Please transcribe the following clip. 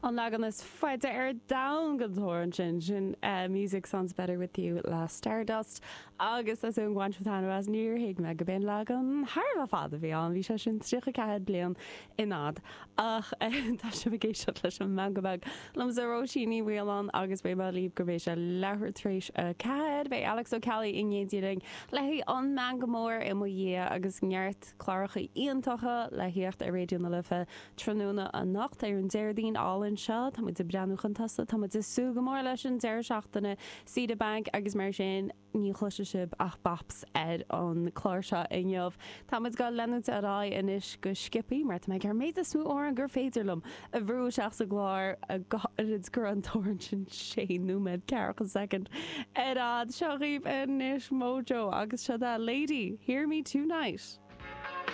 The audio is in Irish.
An leagan is faide ar domhan den amhrán sin, sin Music Sounds Better With You le Stardust agus as an bhaint taitneamh as níor thuig mé go b'in leagan thar a bheith fada a bhí ann, bhí sé sin 34 bliain in fhad. Ach tá sibh ag éisteacht leis an Meangadh Beag liomsa Róisín Ní Mhaoláin agus beidh mé libh go mbeidh sé leathuair tar éis 4. Beidh Alex Ó Ceallaigh in éindí linn le haghaidh an Meangadh Mór i mo dhiaidh agus neart cláracha iontacha le thíocht ar Raidió na Life Tráthnóna anocht ar an Déardaoin álainn seo, tá muid ag breathnú chun tosaigh, tá muid ag súil go mór leis an deireadh seachtaine saoire bainc agus mar sin ní chloisfidh sibh ach bops ar an chlár seo inniu. Tá muid ag leanúint ar aghaidh anois go sciobthaí mar tá mé ag iarraidh an méid is mó amhrán gur féidir liom a bhrú isteach sa gclár go háirid go raibh an t-amhrán sin sé nóiméad ceathracha soicind ar fhad. Seo dhaoibh anois Modjo agus seo é Lady, Hear Me Tonight.